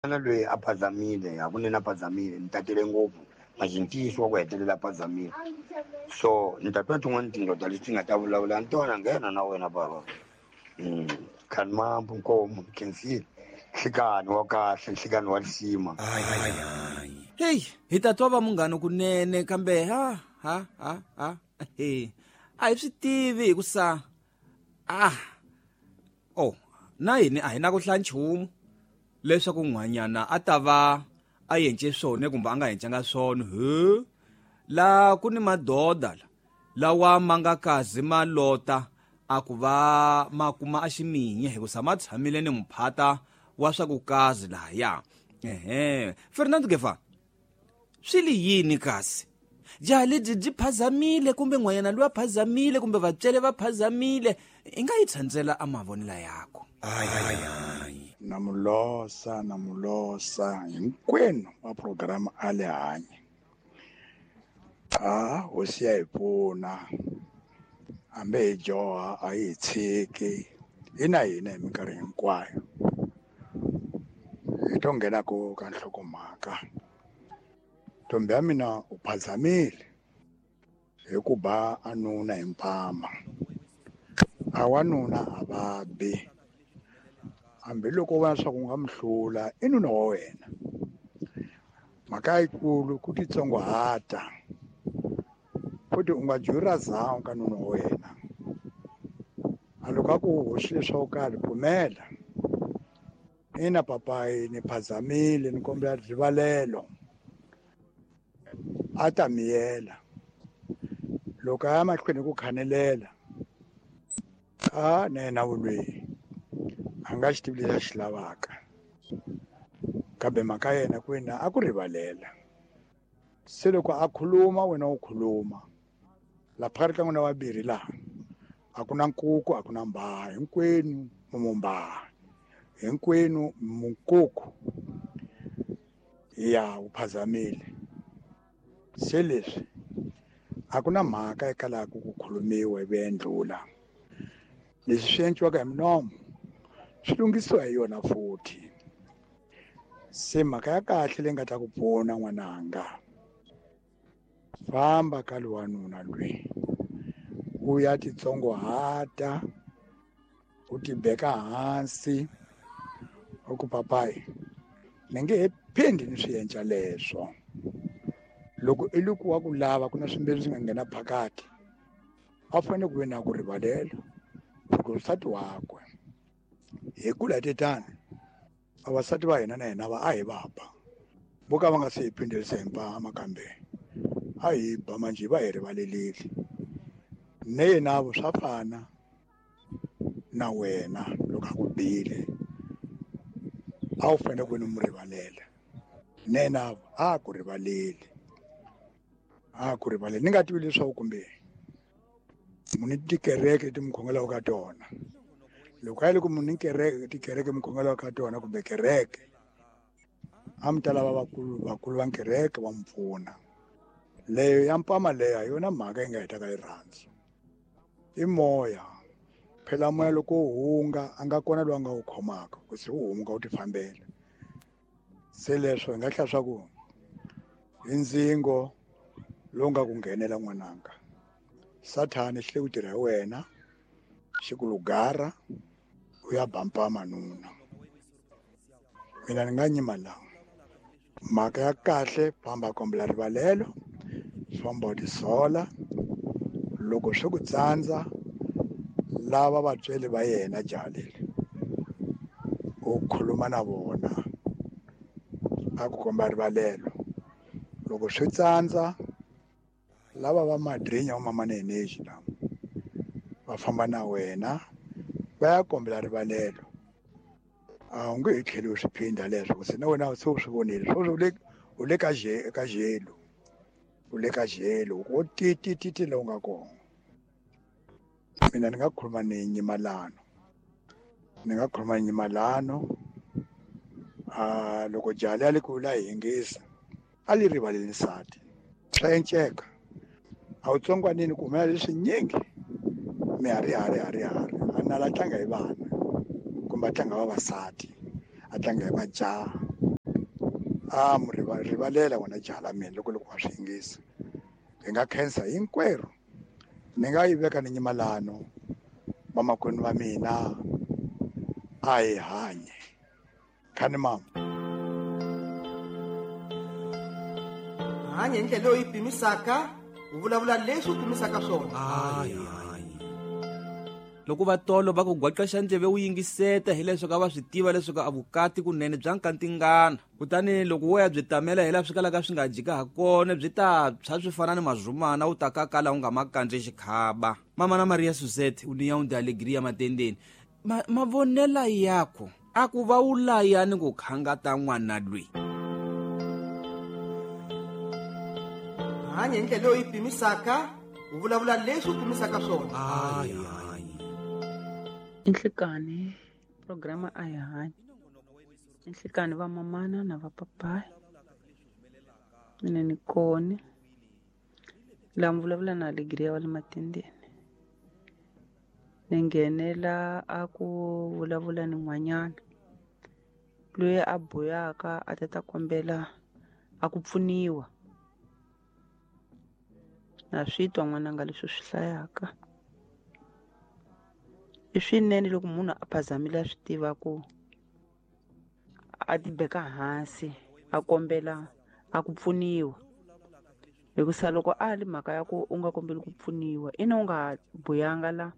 N'wana loyi a phazamile hakunene a phazamile ni tatile ngopfu manje ntiyiso wa ku hetelela a phazamile so ni ta twa tin'wani tindoda leti nga ta vulavula ni tona nghena na wena baba. Khanimambu nkomo khensile nhlikani wa kahle nhlikani wa lisima. Heyi hi ta twa va munghana kunene kambe ha ha ha ha he a hi swi tivi hikusa ah oh na hini a hi na ku hlaya nchumu leswaku n'hwanyana a ta va a yence swona kumbe a nga yencanga swona he la ku ni madoda la lawa ma nga kazi ma lota a ku va ma kuma a ximinye hikusa ma tshamile ni muphata wa swa ku kazi lahaya. Ehe Fernando Gefa swi li yini kasi jaha lebyi byi phazamile kumbe n'hwanyana loyi a phazamile kumbe vatswele va phazamile i nga yi tshandzela a mavonelo yakho? Na mulosa na mulosa hinkwenu va programa a le hanye a hosi ya hi pfuna hambi hi dyoha a yi hi tshiki yi na hina hi minkarhi hinkwayo. Hi to nghenaka ka nhlokomhaka ntombi ya mina u phazamile hi ku ba a nuna hi mpama. A wanuna a va bi hambiloko u vona leswaku u nga mi hlula i nuna wa wena. Mhaka yikulu ku titsongohata futhi u nga juri ra zawu ka nuna wa wena. A loko a ku hoxile swo karhi pfumela ina papayi ni phazamile ni kombela rivalelo a ta miyela. Loko a ya mahlweni ku khanelela a na yena vulweyi a nga xi tivi lexi a xi lavaka kambe mhaka yena ku wena a ku rivalela. Se loko a khuluma wena u khuluma la phakathi ka n'wina vambirhi laha a ku na nkuku a ku na mbhaha hinkwenu mumbaha hinkwenu munkuku ya u phazamile. Se leswi a ku na mhaka eka laha ku khulumiwa ivi endlula leswi swi endliwaka hi minomo swi lunghisiwa hi yona futhi. Se mhaka ya kahle leyi nga ta ku pfuna n'wananga famba ka lowanuna loyi u ya titsongohata u tibeka hansi u ku papayi ni nge he phindi ni swi endla leswo. Loko i loko wa ku lava ku na swimbirhi swi nga nghena phakathi a fanele ku ve na ku rivalela loko nsati wakwe hi kula tetani vavasati va hina na hina va a hi va ba vo ka va nga se hi phindelisa hi mpama kambe a hi ba manje va hi rivalelile. Ne yena vo swa fana na wena loko a ku bile a wu fanele ku ni mu rivalela ne yena a ku rivaleli a ku rivaleli. Ni nga tivi leswaku kumbe mu ni tikereke leti mi khongelaka ka tona loko a yi loko mu ni kereke tikereke mi khongelaka ka tona kumbe kereke a mi ta lava vakulu vakulu va kereke va mi pfuna. Leyo ya mpama leyo hi yona mhaka yi nga hetaka rirhandzu i moya phela moya loko wu hunga a nga kona loyi a nga wu khomaka ku se wu hunga wu ti fambela. Se leswo hi nga hlaya swa ku i ndzingo lowu nga ku nghenela n'wananga. Sathani xi le ku tirha hi wena xi ku lugara u ya ba mpama nuna. Mina ni nga nyima laha mhaka ya kahle famba kombela rivalelo famba u tisola loko swi ku tsandza lava vatsweri va yena jaha leri u khuluma na vona a ku komba rivalelo. Loko swi tsandza lava va madrinya va mama neneji lava va famba na wena va ya kombela rivalelo a wu nge he tlheli u swi phinda leswo ku se na wena se u swi vonile sweswo u le ka ka jelo u le ka jelo wo ti ti ti ti lowu nga kona. Mina ni nga khuluma ni nyimalano ni nga khuluma ni nyimalano a loko jaha liya li ku la hi yingisa a li rivaleli nsati swa enceka a wu tsongwanini ku humelela leswinyingi mi hari hari hari hari a nala tlanga hi vana kumbe a tlanga vavasati a tlanga hi majaha. A mu rivalela wena jaha la mina loko loko wa swi yingisa. Hi nga khensa hinkwerhu. Ni nga yi veka ni nyimalano vamakwenu va mina a hi hanye. Khani mama. Hanye hi ndlela leyi pimisaka, u vulavula leswi u pimisaka swona. Loko va tolo va ku gwaqexa ndleve u yingiseta hileswaku a va swi tiva leswaku a vukati kunene bya nkantingana. Kutani loko wo ya byi tamela hi laha swi kalaka swi nga jika ha kona byi ta tshwa swi fana ni mazumana u ta kakala u nga ma kandzi xikhaba. Mama na Maria Suzette u niya de alegria matendeni. Mavonela yakho a ku va u laya ni ku khangata n'wana lwi. Hanye hi ndlela leyi pimisaka, u vulavula leswi u pimisaka swona. Inhlikani programa a hi hanyi. Inhlikani va mamana na va papayi. Mina ni koni. La mi vulavula na Alegria wa le Matendeni. Ni nghenela a ku vulavula ni n'wanyana loyi a buyaka a ta kombela a ku pfuniwa. Na swi twa n'wananga leswi swi hlayaka. I swinene loko munhu a phazamile a swi tiva ku a tibeka hansi a kombela a ku pfuniwa. Hikusa loko a li mhaka ya ku u nga kombeli ku pfuniwa ina u nga buyanga la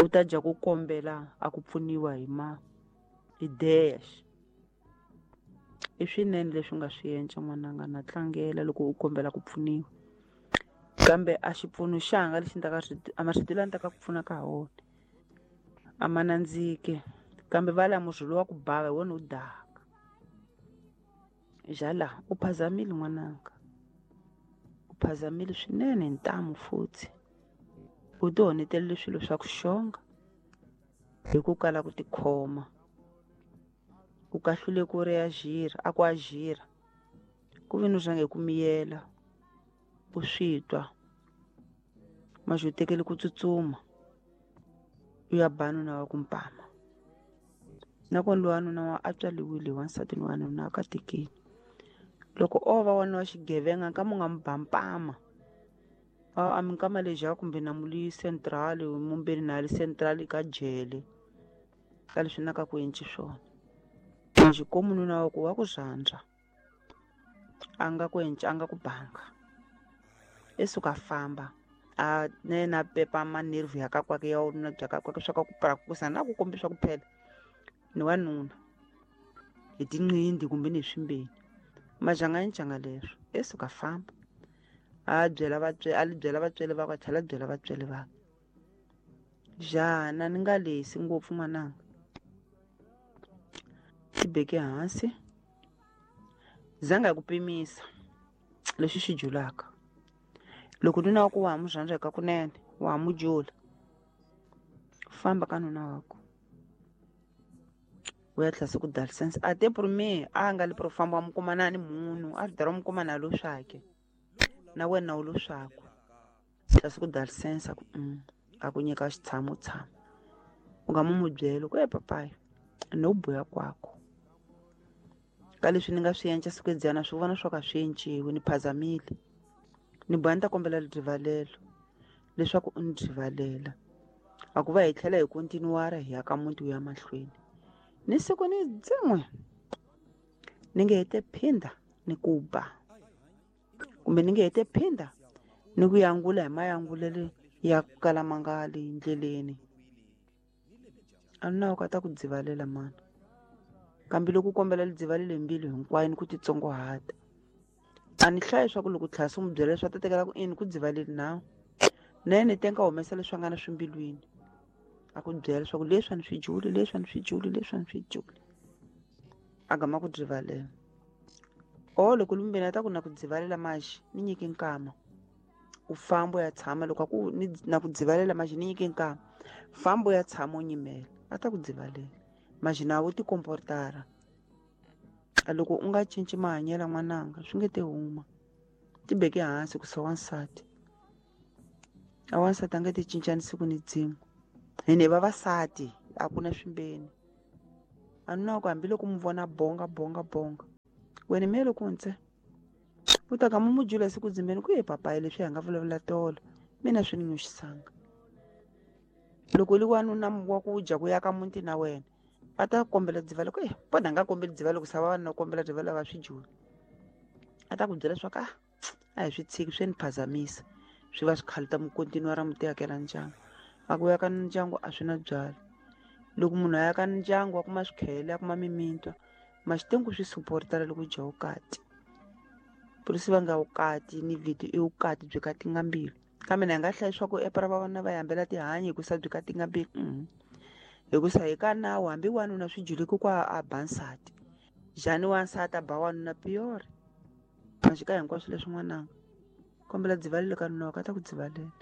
u ta dya ku kombela a ku pfuniwa hi ma hi dash. I swinene leswi nga swi endla n'wananga na tlangela loko u kombela ku pfuniwa. Kambe a xipfuno xanga lexi ni ta ka a marito lawa ni ta ka ku pfuna ka wona a ma nandziki kambe va la murhi lowa ku bava hi wona wu daka. Jala u phazamile n'wananga, u phazamile swinene hi ntamu futhi. U ti honetelele swilo swa ku xonga hi ku kala ku tikhoma. U kahlule ku reagir, a ku agira ku ve ni rhange hi ku miyela u swi twa maxi u tekele ku tsutsuma u ya ba nuna wa ku mpama. Nakona lowa nuna wa a tswaliwile wansati ni wanuna a katekile. Loko o va wanuna wa xigevenga nkama u nga mu ba mpama a mi nkama leja kumbe na muli central mumbeni na li central ka jele ka leswi na ka ku endli swona. Maxi ko mununa wa ku wa ku rhandza a nga ku endli a nga ku banga i suka famba a ne na pepa manerve ya ka kwake ya nuna bya ka kwake swa ka ku prakusa na ku kombisa ku phela ni wanuna hi tinqindi kumbe ni swimbeni majanga njanga leswo i suka famba a byela vatswele a li byela vatswele va ka tlhela byela vatswele va jana ni nga lesi ngopfu n'wananga tibeke hansi zanga ku pimisa leswi swi julaka. Loko nuna wa ku wa ha mu rhandza ka kunene wa ha mu jula famba ka nuna wa ku u ya tlhela se ku dalisense a te prome a nga li pro famba wa mu kuma na ni munhu a ri dara mu kuma na lo swake na wena u lo swaku tlhela se ku dalisense ku a ku nyika xitshamo tshama u nga mu mu byela ku e papayi no buya kwako ka leswi ni nga swi endla siku edzana swi vona swo ka swi enciwi ni phazamile ni boha ni ta kombela rivalelo leswaku u ni rivalela a ku va hi tlhela hi kontinuwara hi ya ka muti wu ya mahlweni ni siku ni dzin'we ni nge hete phinda ni ku ba kumbe ni nge hete phinda ni ku yangula hi mayangulele ya ku kala ma nga le ndleleni a ni na u ka ta ku dzivalela mana kambe loko u kombela lidzivalele hi mbilu hinkwayo ni ku titsongohata a ni hlayi swa ku loko tlhela swi n'wi byela leswi a ta tekela ku ini ku dzivaleli nawu na yena ni tenga humesa leswi a nga na swimbilwini a ku byela leswaku leswi a ni swi juli leswi a ni swi juli leswi a ni swi juli a gama ku dzivalela o loko lumbeni a ta ku na ku dzivalela maxi ni nyiki nkama u famba u ya tshama loko a ku ni na ku dzivalela maxi ni nyiki nkama famba u ya tshama u nyimela a ta ku dzivalela maxi na wo tikomportara a loko u nga cinci mahanyelo n'wananga swi nge te huma tibeke hansi ku sa wansati a wansati a nge ti cincani siku ni dzin'we hine vavasati a ku na swimbeni a nuna ku hambiloko mu vona bonga bonga bonga Wena mele ku ntse u ta ka mumujula siku dzimbeni ku ye papayi leswi hi nga vulavula tolo mina swi ni nyuxisanga. Loko li wanuna wa ku dya ku ya ka muti na wena va ta kombela dziva loko pona nga kombeli dziva loko sa va na kombela dziva lava swi jula a ta ku byela swa ka a hi swi tshiki swi ni phazamisa swi va swi khaluta mukontinua ra muti yakela ndyangu a ku ya ka ndyangu a swi na byala. Loko munhu a ya ka ndyangu a kuma swikhele a kuma mimintwa maxitengu swi supportala loko dya vukati polisi va nga vukati ni vito i vukati byi katinga mbilu kambe na nga hlaya swa ku epa ra vavanuna va hambela tihanyi hikusa byi katinga mbilu hikusa hi ka nawu hambi wanuna swi juleki kwa a ba nsati njhani wansati a ba wanuna piyori maxika hinkwaswo leswi n'wananga kombela dzivalele ka nuna waka a ta ku dzivalela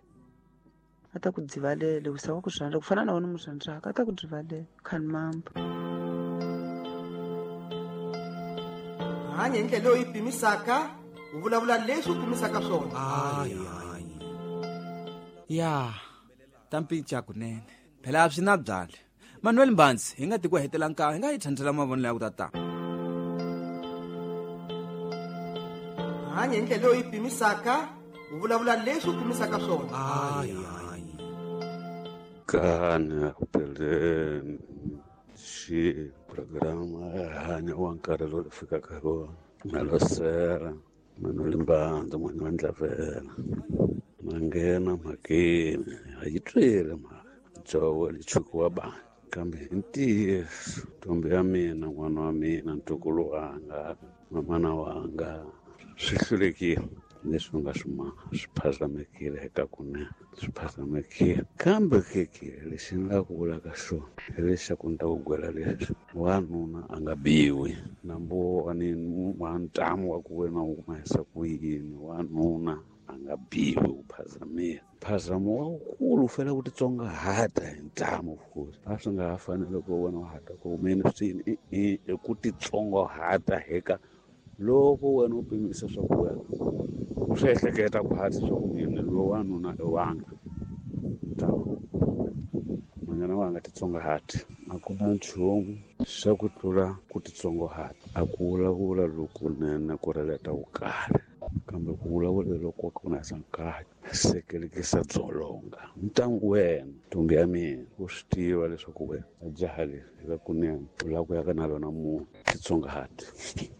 a ta ku dzivalela hikusa wa ku rhandza ku fana na wena mu rhandzaka a ta ku dzivalela khani mamba. Hanya hi ndlela leyi pimisaka u vulavula leswi u pimisaka swona. Ya ta mpinca kunene phela a swi na byala. Manuel Mbanzi hi nga ti ku hetela nkarhi hi nga yi thandlela mavonelo ya ku tata. Hanya hi ndlela leyi pimisaka u vulavula leswi u pimisaka swona. Kana kupeleni xi programa hanya wa nkarhi lowu fikaka hi wona Malosera Manuel Mbanzi n'wana wa Ndlavela ma nghena mhakeni a yi twele mhaka dzovo lichuku wa bani kambe hi ntiyiso ntombi ya mina n'wana wa mina ntukulu wanga mamana wanga swi hlulekile leswi nga swi maha swi phazamekile eka kunene swi phazamekile kambe keke lexi ni nga ku vulaka xona hi lexaku ni ta ku gwela leswi wanuna a nga biwi nambu wa ni wa ntamu wa ku wena u humesa ku yini wanuna a nga biwi u phazamile mphazamo wa wukulu u fanele ku titsongahata hi ntamu futhi a swi nga ha fanele ku wena wa hata ku humeni swini i ku titsongahata heka loko wena u pimisa swa ku wena u swi ehleketa ku hatisa swa ku mina loyi wanuna i wanga n'wanyana wanga titsongahati a ku na nchumu xa ku tlula ku titsongahata a ku vulavula lokunene ku releta vukari kambe ku vulavula loko ku na nkarhi sekelekisa dzolonga ntangu wena ntombi ya mina u swi tiva leswaku wena a jaha leri eka kunene u lava ku ya ka na lona munhu titsongahati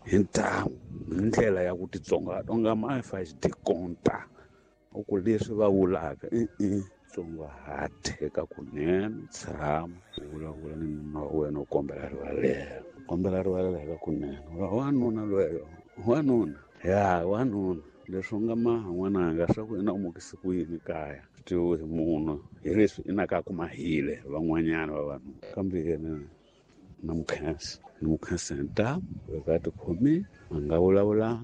hi ntamu hi ndlela ya ku titsongahata u nga mafa xidikonta u ku leswi va vulaka i tsongahati eka kunene tshama u vulavula ni nuna wa wena u kombela rivalelo kombela rivalelo eka kunene wanuna lweyo wanuna ya wanuna leswi u nga maha n'wananga swa ku ina u mukisi ku yini kaya swi tivi hi munhu hi leswi inaka ku mahile van'wanyana va vanhu kambe yena na mukhensa ni mukhensa hi ntamu loko a tikhomile a nga vulavulanga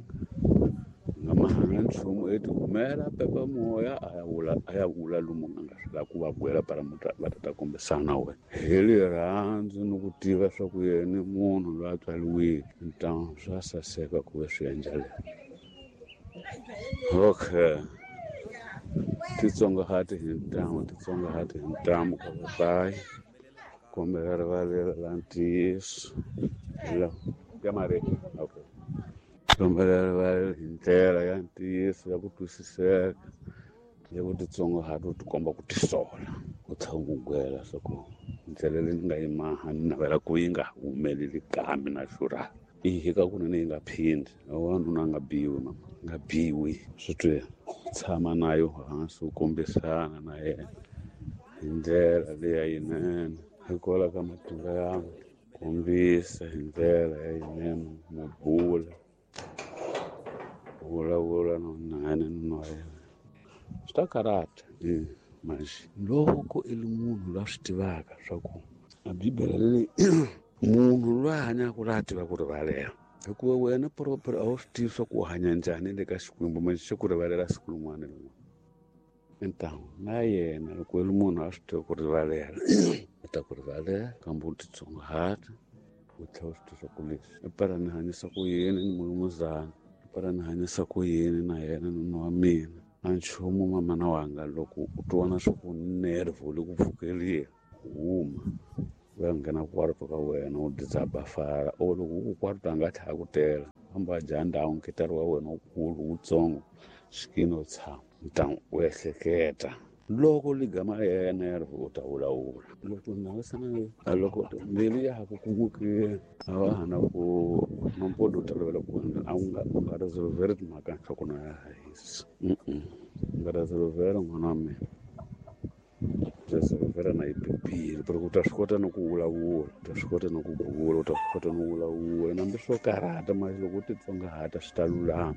a nga mahanga nchumu i tihumela pepa moya a ya vula lomu a nga swi lava ku va gwela para va ta ta kombisana wena hi rirhandzu ni ku tiva swa ku yena i munhu loyi a tswariwile ntamu swa saseka ku ve swi endla leswi. Okay titsongahati hi ntamu titsongahati hi ntamu ka vapayi kombela rivalela la ntiyiso ya mareki okay kombela rivalela hi ndlela ya ntiyiso ya ku twisiseka ya ku titsongahata u tikomba ku tisola u tlhela u gwela swa ku ndlela leyi ni nga yi maha ni navela ku yi nga humeleli kambe na xurha i ka kunene yi nga phindi wanuna a nga biwi mama nga biwi swi twe tshama nayo hansi u kombisana na yena hi ndlela leya yinene hikwalaho ka matimba ya kombisa hi ndlela ya yinene mubula vulavula na nani nuna wa yena swi ta karata manje loko i ri munhu loyi a swi tivaka swa ku a bibele leyi munhu loyi a hanyaka la a tiva ku rivalela hikuva wena proper a wu swi tivi swa ku u hanya njhani le ka Xikwembu manje xi ku rivalela siku rin'wana na rin'wana ntamu na yena loko i ri munhu a swi tiva ku rivalela u ta ku rivalela kambe u titsongahata u tlhela u swi tiva swa ku leswi i para ni hanyisa ku yini ni mulumuzana i para ni hanyisa ku yini na yena nuna wa mina a nchumu mamana wanga loko u twana swa ku nerve u le ku pfukeliwa huma u ya nghena kwarto ka wena u dizaba fara o loko u ku kwarto a nga tlhela ku tela Hamba dya ndhawu nkitari wa wena wukulu wutsongo xikini u tshama ntamu u ehleketa loko ligama yenero u ta vulavula loko nawisana loko mbilu ya ha ku kumukile a va ha na ku nompodo u tolovela ku a u nga u nga resolveri timhaka nhloko na ya hisi u nga resolvera n'wana wa mina resolvera na yi pepile pero u ta swi kota na ku vulavula u ta swi kota na ku bula u ta swi kota no vulavula nambi swo karhata mali loko u titsongahata swi ta lulama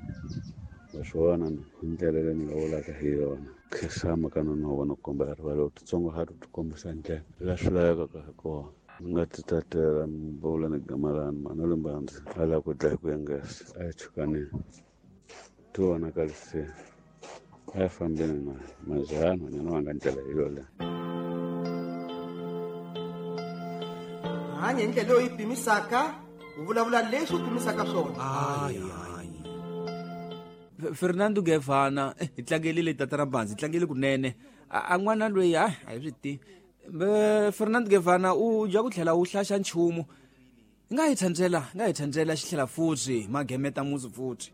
naswona hi ndlela leyi ni nga vulaka hi yona khensama ka nuna wa wena ku kombela rivalelo u titsongahata u tikombisa ndlela la swi lavekaka hi kona ni nga ti tatela ni vula ni gamalani mhana limbanzi a lava ku dlaya ku yengesa a hi chukaneni ti vonakaliseni a hi fambeni na majani nhwanyana wanga ndlela hi yoleyo. Hanya hi ndlela leyi pimisaka, u vulavula leswi u pimisaka swona. Fernando Gevana hi tlangelile tata ra Mbanzi, hi tlangele kunene. A n'wana loyi a hi swi tivi. Fernando Gevana u dya ku tlhela u hlaxa nchumu. Nga hi tsandzela, nga hi tsandzela xi tlhela futhi magemeta muzi futhi.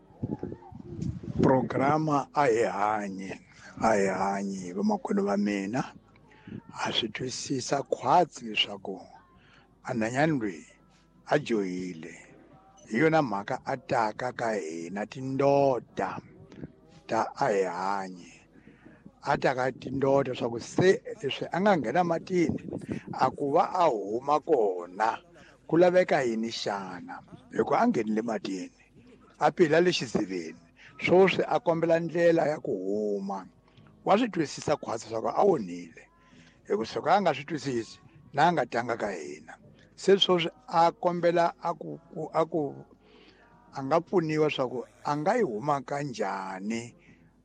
Programa a hi hanyi, a hi hanyi vamakwenu va mina. A swi twisisa khwatsi leswaku a nhwanyana loyi a dyohile. Hi yona mhaka a taka ka hina tindoda ta a hi hanyi. A taka tindoda leswaku se leswi a nga nghena matini a ku va a huma kona ku laveka yini xana, hikuva a nghenile matini a pila le xiziveni swoswi a kombela ndlela ya ku huma. Wa swi twisisa khwatsi leswaku a onhile, hikuva soko a nga swi twisisi na a nga tanga ka hina. Se swoswi a kombela a ku a ku a nga pfuniwa leswaku a nga yi huma kanjhani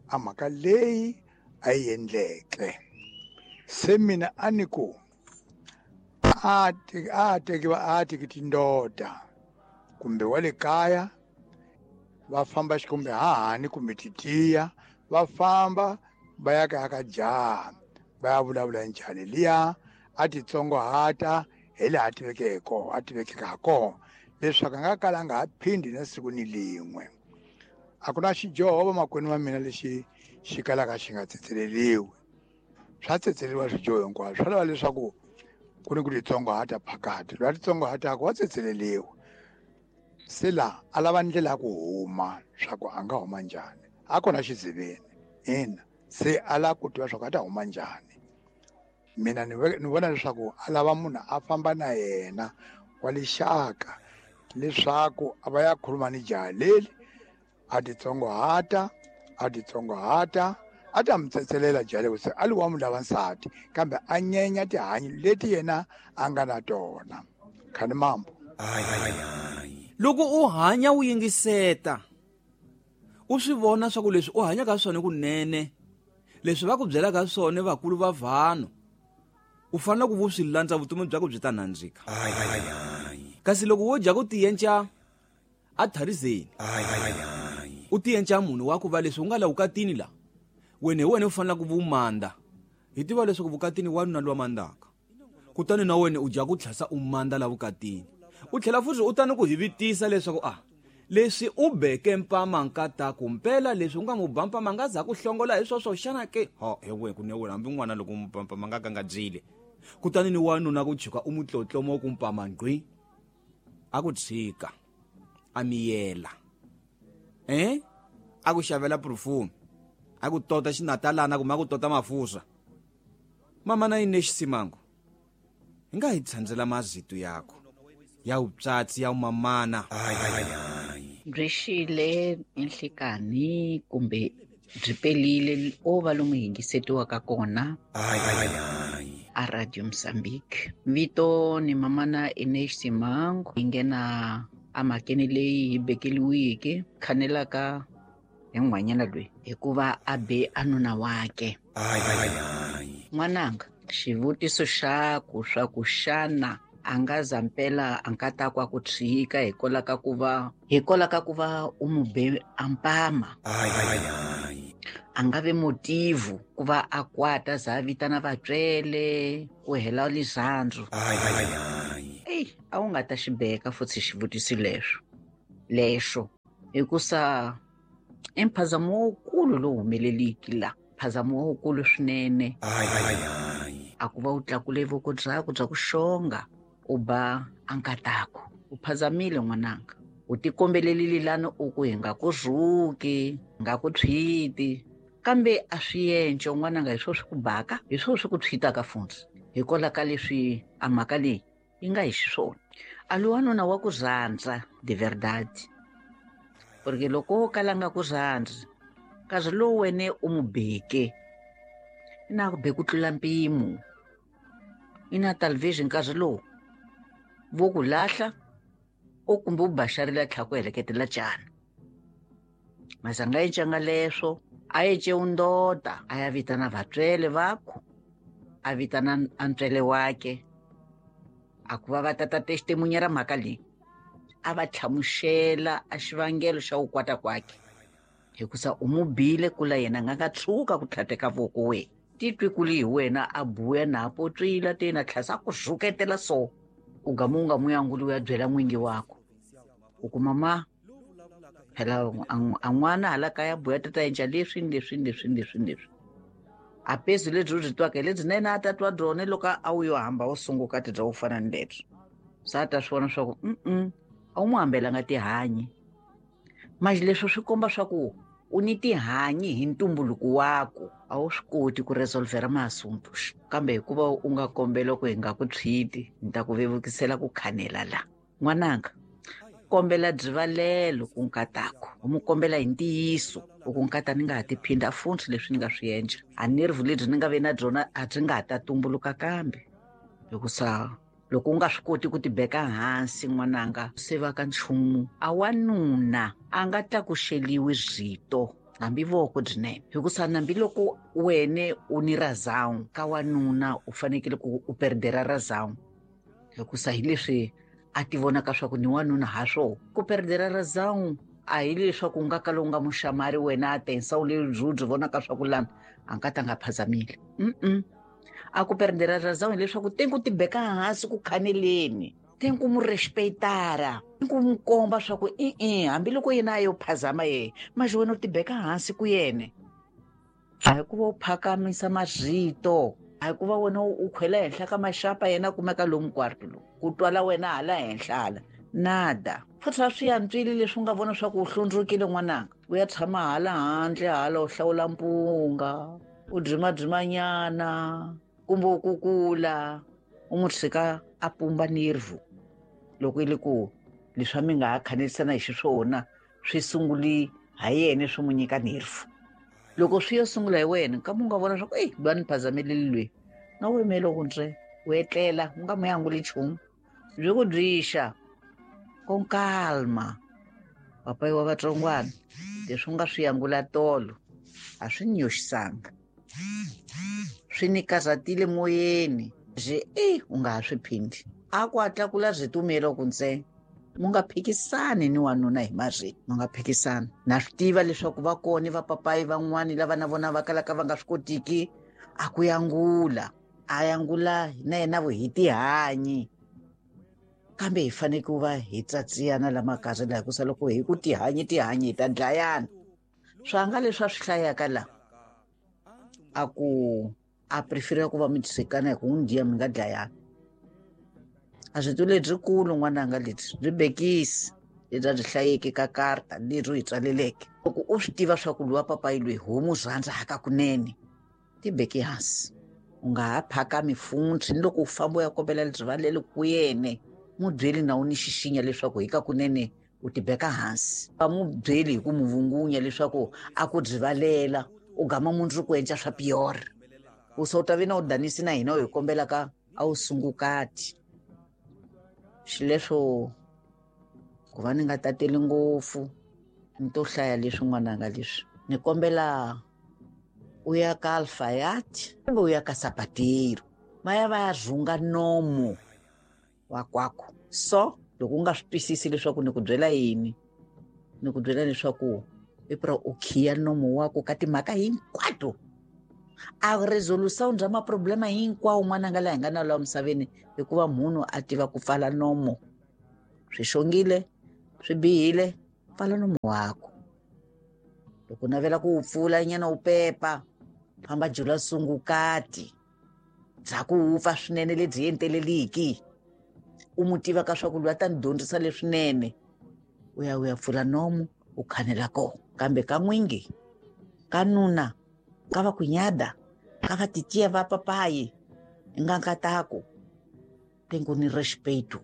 a mhaka leyi a yi endleke. Se mina a ni ku a tekiwa a teki tindoda kumbe wa le kaya va famba xikumbe hahani kumbe titiya va famba va ya kaya ka jaha va ya vulavula njhani liya a titsongohata hi laha a tiveke hi kona a tivekeke ha kona leswaku a nga kala a nga ha phindi na siku ni lin'we. A ku na xidyoho vamakwenu va mina lexi xi kalaka xi nga tsetseleriwi. Swa tsetseleriwa swidyoho hinkwaswo, swa lava leswaku ku ni ku titsongohata phakati. Loyi a titsongohataka wa tsetseleriwa. Se laha a lava ndlela ya ku huma swa ku a nga huma njhani, a kona xiziveni ina se a lava ku tiva swa ku a ta huma njhani. Mina ni vona leswaku a lava munhu a famba na yena wa lixaka leswaku a va ya khuluma ni jaha leri a titsongohata a titsongohata a ta mi tsetselela jaha leri se a li wa mu lava nsati kambe a nyenya tihanyi leti yena a nga na tona. Khani mambo. Loko u hanya u yingiseta u swi vona swa ku leswi u hanyaka swona kunene leswi va ku byelaka swona vakulu va vanhu u fanele ku vu swi landza vutomi bya ku byi ta nandzika. Kasi loko wo dya ku tiyenca a tharizeni u tiyenca munhu wa ku va leswi u nga la vukatini la wena hi wena u fanele ku vumanda. Hi tiva leswaku vukatini wanuna lowa mandaka, kutani na wena u dya ku tlhasa u manda la vukatini. U tlhela futhi u tani ku hi vitisa leswaku a leswi u beke mpama nkataku mpela leswi u nga mu ba mpama nga za ku hlongola hi swoswo xana ke ho he we ku ne wena hambi n'wana loko mu ba mpama nga ka nga dyile. Kutani ni wanuna ku chuka u mu tlotlomo ku mpama ngqi a ku tshika a miyela a ku xavela perfume a ku tota xinatalana kumbe a ku tota mafusa. Mama na yini xisimango hi nga hi tsandzela mazito yakho ya utsatsi ya umamana. Byi xile enhlekani kumbe byi pelile o va lomu yingisetiwaka kona a Radio Mozambique. Vito ni mamana Ines Simango hi nghena emhakeni leyi hi bekeliweke khanelaka hi n'hwanyana loyi hikuva a be a nuna wake. N'wananga, xivutiso xa ku swa ku xana a nga za mpela a nga ta kwa ku tshika hikwalaho ka ku va u mu be a mpama. A nga ve motivu ku va a kwata za a vitana vatswele ku hela lirhandzu. Eyi, a wu nga ta xi beka futhi xivutiso lexo. Hikusa i mphazamo wukulu lowu humeleliki la, mphazamo wukulu swinene. A ku va u tlakule voko byakho bya ku xonga u ba a nkatako. U phazamile n'wananga, u tikombelelile lani u ku hi nga ku rhuki, hi nga ku tshwiti, kambe a swi yenco n'wananga, hi swo swi ku baka, hi swo swi ku tshwitaka funtsi. Hikwalaho ka leswi a mhaka leyi yi nga hi xiswona. A lo wanuna wa ku rhandza de verdade, porque loko wo kala nga ku rhandzi, nkarhi lowu wene u mu beke, i na ku be ku tlula mpimo. I na television nkarhi lowu vo ku lahla o kumbe u baxarile a tlhela ku heleketela cana. Mazanga encanga leswo, a ece undota, a ya vitana vatswele vakho, a vitana a ntswele wake, a ku va va tata testimunya ra mhaka leyi, a va hlamusela a xivangelo xa ku kwata kwakhe. Hikusa u mu bile kula yena nga nga tshuka ku tlhateka voko we. Titwi kuli hi wena a buya na potswila tena tlhasa ku rhuketela so. U gama u nga mu yanguli u ya byela n'wingi wakho. U ku mama, phela a n'wana hala kaya buya tata endla leswi ni leswi ni leswi ni leswi ni leswi. A pezi lebyi u byi twaka hi lebyi na yena a ta twa byona loko a wu yo hamba u sunguka ti bya ku fana ni lebyi. Se a ta swi vona swa ku, a wu n'wi hambelanga tihanyi. Manje leswi swi komba swa ku u ni tihanyi hi ntumbuluko waku, a wu swi koti ku resolvera masunto. Kambe hikuva u nga kombela ku hi nga ku tshwiti, ni ta ku vevukisela ku khanela la. N'wananga, kombela byivalelo ku nkatako, u mu kombela hi ntiyiso, u ku nkata ni nga ha tiphinda funtsi leswi ni nga swi endla. A nervu lebyi ni nga ve na byona a byi nga ha ta tumbuluka kambe. Hikusa loko u nga swi koti ku tibeka hansi n'wananga, se va ka nchumu. A wanuna a nga tlakuxeliwi rito hambi voko byinene. Hikusa nambi loko wene u ni razão ka wanuna u fanekele ku u perdera razão. Hikusa hi leswi a ti vonaka swa ku ni wanuna ha swona. Ku perdera razão a hi leswaku u nga kala u nga muxamari wena a tensa u le byi vonaka swa ku lana a nga ta nga phazamile. A ku perdera razão hileswaku te ku tibeka hansi ku khaneleni, te ku mu respectara, te ku mu komba swa ku i-i, hambiloko yena a yo phazama ye, manje wena u tibeka hansi ku yene. A hi ku va u phakamisa marito, a hi ku va wena u khwela henhla ka maxapa yena a kumeka lomu kwarto lowu, ku twala wena hala henhla hala. Nada. Futhi a swi antswile leswi u nga vona swa ku u hlundzukile n'wananga, u ya tshama hala handle hala u hlawula mpunga, u dzimadzimanyana, kumbe u kukula, u n'wi tshika a pumba nervu. Loko yi le ku leswi a mi nga ha khanelisana hi xiswona swi sunguli ha yena swi n'wi nyika nervu. Loko swi yo sungula hi wena, kambe u nga vona swa ku, ey, loyi a ni phazameleli loyi, na u yimele ku ntswe, u etlela, u nga mu yanguli nchumu. Byi ku byixa, con calma. Papayi wa vatsongwana, leswi u nga swi yangula tolo, a swi ni yoxisanga. Swi ni karhatile moyeni. Byi, ey, u nga ha swi phindi. A ku a tlakula rito ku ntsena. Mu nga phikisani ni wanuna hi marito, mu nga phikisani. Na swi tiva leswaku va kona va papayi van'wani lava na vona va kalaka va nga swi kotiki a ku yangula. A yangula na yena vo hi tihanyi. Kambe hi fanele ku va hi tsatsiyana la makarhi laha, hikusa loko hi ku tihanyi tihanyi hi ta dlayana. Swanga leswi a swi hlayaka la, a ku a prefera ku va mi tshikana hi ku n'wi dya mi nga dlayani. A swi tuli lebyikulu n'wananga lebyi, byi bekisi lebyi a byi hlayeke ka karta leri u hi tsaleleke. Loko u swi tiva swa ku luwa papayi loyi ho mu rhandza hakakunene, ti beke hansi. U nga ha phakami funtsi ni loko u famba u ya kombela rivalelo ku yene, mu byeli na u ni xixinya leswaku hikakunene u tibeka hansi. Va mu byeli hi ku mu vungunya leswaku a ku rivalela, u gama mundzuku endla swa pior. U se u ta ve na u danisi na hina u hi kombelaka a wu sungukati. Xileswo ku va ni nga tateli ngopfu, ni to hlaya leswi n'wananga leswi. Ni kombela u ya ka Alfayati kumbe u ya ka Sapateiro, va ya va ya rhunga nomo wa kwakho. So loko u nga swi twisisi leswaku ni ku byela yini, ni ku byela leswaku i pra u khiya nomo wa ku ka timhaka hinkwato. A resolution bya maproblema hinkwawo n'wananga laha hi nga na laha misaveni, hikuva munhu a tiva ku pfala nomo. Swi xongile, swi bihile, Pfala nomu wako. Loko navela ku wu pfula nyana wu pepa, famba jula sungukati bya ku wupfa swinene lebyi enteleliki. U mu tiva ka swa ku loyi a ta ni dyondzisa leswinene. U ya u ya pfula nomu u khanela kona. Kambe ka n'wingi, ka nuna, ka va kunyada, ka va titiya va papayi, nga nkataku, tengo ni respeto.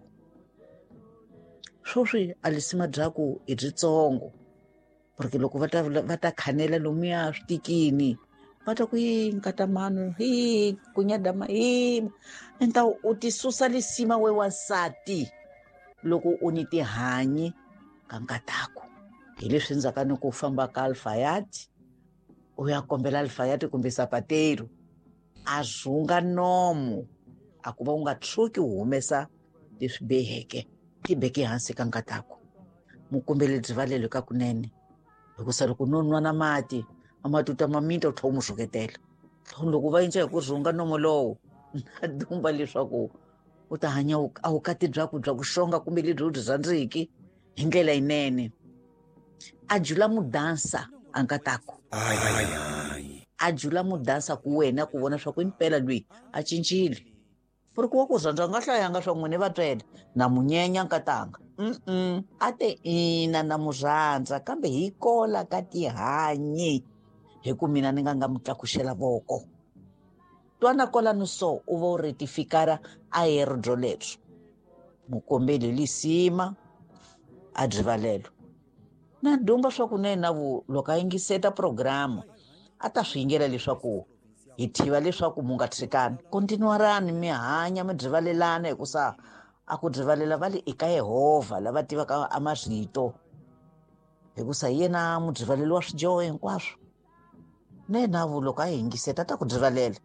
Swoswi a lisima byaku i byitsongo. Porque loko va ta khanela lomuya switikini, va ta ku yi nkata manu, hi kunyada ma, hi enta u ti susa lisima we wansati loko u ni tihanyi ka nkataku. Hi leswi ndzhaka ni ku famba ka alfayati, u ya kombela alfayati kumbe sapateiro, a zunga nomu, a ku va u nga tshuki u humesa leswi biheke, ti beke hansi ka nkataku. Mukombele byivalelo ka kunene. Hikusa loko no nwa na mati, a matuta ma minta u tlhela u mu rhuketela. Loko va endla hi ku rhunga nomo lowo, na dumba leswaku u ta hanya a vukati byaku bya ku xonga kumbe lebyi u byi rhandziki hi ndlela yinene. A jula mudansa a nkataku. A jula mudansa ku wena ku vona swa ku impela loyi a cincile. Porque wa ku rhandza nga hlayanga swa n'wini va twela na munyenya nkatanga. A te ina na mu rhandza kambe hi kola ka tihanyi hi ku mina ni nga nga mu tlakuxela voko. Twana kwalano so u va u retifikara a hero byo lebyo. Mukombeli lisima a byivalelo. Na dumba swa ku na vu loko a yingiseta programa a ta swi yingela leswaku hi tiva leswaku mu nga tshikani. Kontinuarani mi hanya mi byivalelana hikusa a ku byivalela va le eka Yehovha lava tivaka a marito. Hikusa hi yena mubyivaleli wa swidyoho hinkwaswo. Na yena vu loko a yingiseta ta ku byivalela.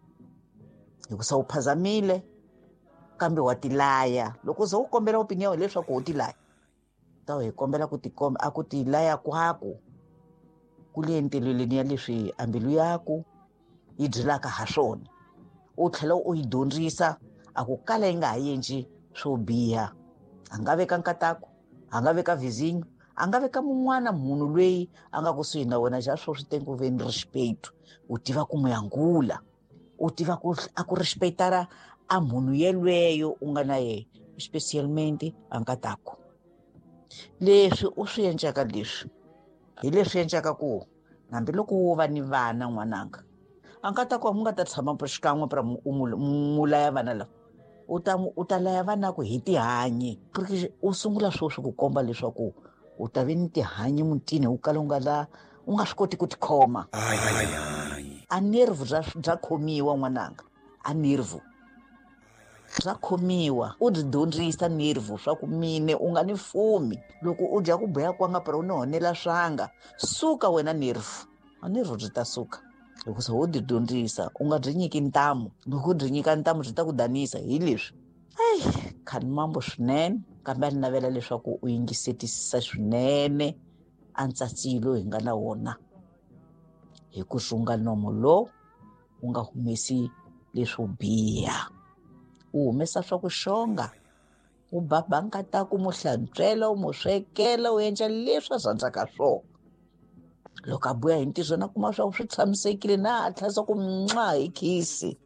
Hikusa u phazamile kambe wa tilaya. Loko u ze u kombela opinion leswaku u tilaya, ta hi kombela ku tikomba a ku tilaya kwaku ku le ntileleni ya leswi a mbilu yaku yi byelaka ha swona. U tlhela u yi dyondzisa a ku kala yi nga ha endli swo biha. A nga veka nkataku, a nga veka vizinyo, a nga veka mun'wana munhu loyi a nga kusuhi na wena xa swo swi tengo ve ni respeto. U tiva ku mu yangula, u tiva ku a ku respectara a munhu yelweyo u nga na yena, especialmente a nkataku. Leswi u swi endlaka leswi hi leswi endlaka ku hambiloko wo va ni vana n'wananga, a nkataku a mu nga ta tshama xikan'we pra u mu laya vana lava. U ta laya vana ku hi tihanyi. Porque u sungula sweswi ku komba leswaku u ta ve ni tihanyi mutini u kala u nga la u nga swi koti ku tikhoma. A nerve bya khomiwa n'wananga, a nerve bya khomiwa. U byi dyondzisa nerve swa ku mine u nga ni fumi. Loko u dya ku boya kwanga pra u ni honela swanga, suka wena nerve. A nerve byi ta suka. Hikusa wo byi dyondzisa, u nga byi nyiki ntamu. Loko u byi nyika ntamu byi ta ku danisa hi leswi. Ai, khani mambo swinene, kambe a ni navela leswaku u yingisetisisa swinene a ntsatsilo hi nga na wona. Hi ku rhunga nomo lowu u nga humesi leswo biha. U humesa swa ku xonga, u baba nkataku, mu hlantswela, u mu swekela, u endla leswi a rhandzaka swona. Loko a buya hi ntirho na kuma swa ku swi tshamisekile na a tlhela ku mwa hi khisi.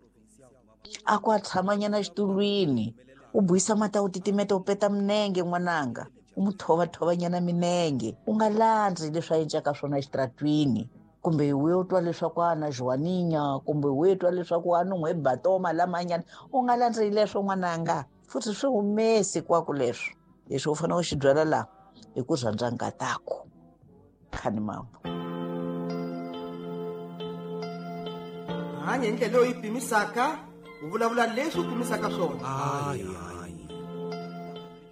A ku a tshamanyana exitulwini, u buisa mati u titimeta u peta minenge n'wananga, u mu thovathovanyana minenge. U nga landzi leswi a endlaka swona exitaratwini, kumbe u yo twa leswaku a na Joaninha, kumbe u yo twa leswaku a nun'hwe batoma lamanyana. U nga landzi leswo n'wananga, futhi swi humesi kwako leswo. Leswi u fanele u xi byala laha hi ku rhandza nkataku. Khani mambo. Hanya hi ndlela leyi pimisaka, u vulavula leswi u pimisaka swona.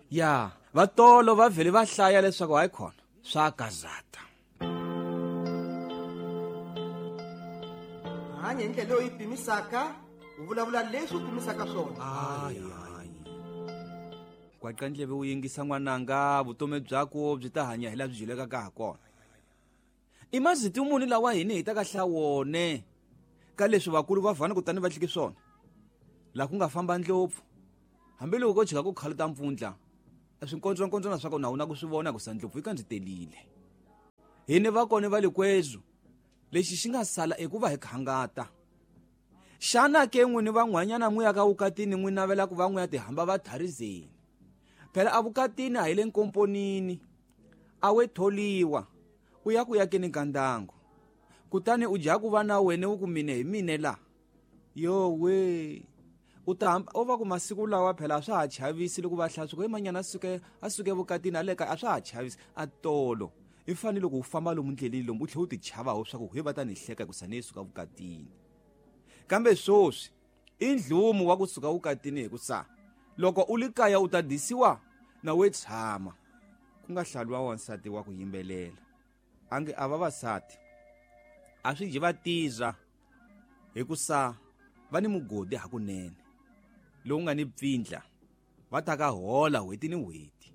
Ya, vatolo va vhele va hlaya leswaku hayi khona swa gazata. Hanya hi ndlela leyi pimisaka, u vulavula leswi u pimisaka swona. Kwaqa ndleve u yingisa n'wananga, vutomi byako byi ta hanya hi laha byi dyulekaka ha kona. I maziti muni lawa hina hi ta ka hlawone ka leswi vakulu va vhana kutani va hlike swona. Laha ku nga famba ndlopfu, hambiloko ko jika ku khaluta mpfundla, a swinkondzonkondzwana swa kona a wu na ku swi vona ku sa ndlopfu yi kandzitelile. Hini va kona va likwezu lexi xi nga sala i ku va hi khangata. Xana ke n'wini van'wanyana n'wi ya ka vukatini n'wi navela ku va n'wi ya tihamba va tharizeni? Phela a vukatini a hi le nkomponini, a we tholiwa u ya ku yakeni ka ndangu, kutani u dya ku va na wena u ku mine hi mine la. Yowe, u ta hamba u va ku masiku lawa phela a swa ha chavisi loko va hlaya swi ku manyana a suke vukatini a le kaya, a swa ha chavisi. A tolo i fanele loko u famba lomu ndleleni lomu u tlhela u ti chava swa ku he va ta ni hleka hikusa ni suka vukatini. Kambe swoswi i ndlumu wa kusuka vukatini hikusa loko u li kaya u ta disiwa na we tshama. Ku nga hlaliwa wansati wa ku yimbelela ange a vavasati a swi dyi va tiza hikusa va ni mugodi hakunene lowu nga ni pfindla, va ta ka hola n'hweti ni n'hweti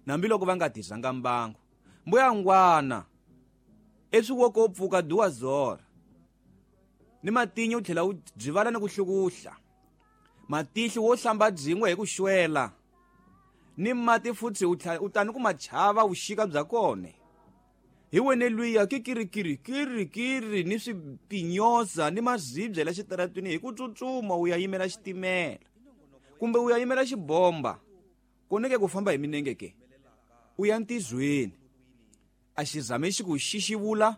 hambiloko va nga tizanga mbangu. Mbuya ngwana eswi wo ko pfuka duwa zora ni matinyo u tlhela u byivala ni ku hlukuhla matihlo wo hlamba byin'we hi ku xwela ni mati futhi u tani ku machava vuxika bya kona. Hi wene luya kikirikiri kirikiri ni swipinyoza ni mazibye la xitaratwini hi ku tsutsuma u ya yimela xitimela kumbe u ya yimela xibomba koneke ku famba hi minenge ke u ya ntizweni. A xizame xi ku xixivula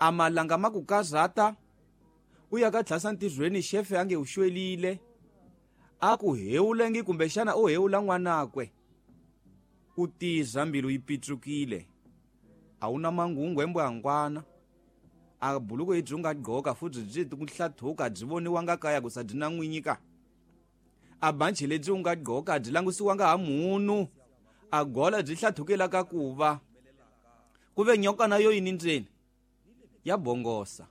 a malanga ma ku kazata u ya ka tlhasa ntizweni xefe a nge u xwelile a ku hewulengi kumbexana u hewula n'wanakwe. U tiza mbilu yi pitsukile, a wu na mangungu embwangwana, a buluku yi byi nga gqoka futhi byi ku hlathuka byi voniwanga kaya ku sa byi na n'winyi ka. A banchi lebyi u nga gqoka byi langusiwanga ha munhu, a gola byi hlathukela ka ku va ku ve nyoka na yo yini ndzeni ya bongosa.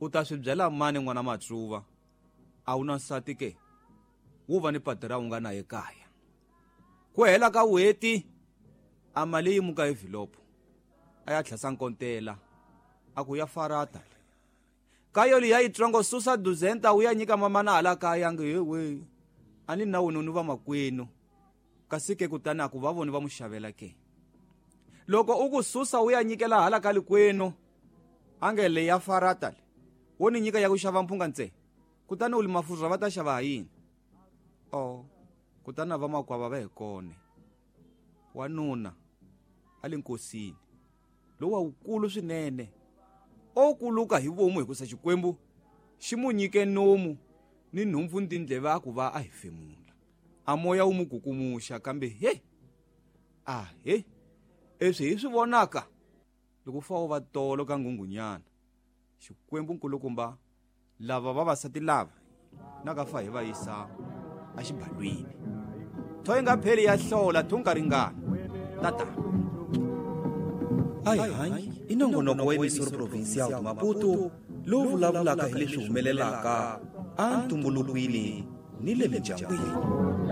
U ta swi byela mani n'wana Matsuva? A wu na nsati ke, wu va ni patira u nga na ekaya. Ku hela ka n'hweti a mali yi muka envelope a ya tlhasa nkontela a ku ya farata kayo liya yitsongo susa duzenta u ya nyika mamana hala kaya nge hewe a ni na wena ni va makwenu. Kasi ke kutani a ku va voni va mu xavela ke. Loko u ku susa u ya nyikela hala ka likwenu a nge le ya farata le wo ni nyika ya ku xava mphunga ntse, kutani u li mafurha va ta xava ha yini? O kutani va makwava va hi kone. Wanuna a le nkosini lowa wukulu swinene o kuluka hi vomu hikusa Xikwembu xi mu nyike nomu ni nhompfu ni tindleve a ku va a hefemula. A moya wu mu kukumuxa kambe he a he eswi hi swi vonaka loko fa wo va tolo ka nghunghunyana. Xikwembu nkulukumba lava vavasati lava na ka fa hi va yisa a xibalwini. Tho yi nga pheli ya hlola thunga ringana tata. Ai hanyi i nongonoko wa Emissora Provincial de Maputo lowu vulavulaka hi leswi humelelaka a ntumbulukwini ni le mindyangwini.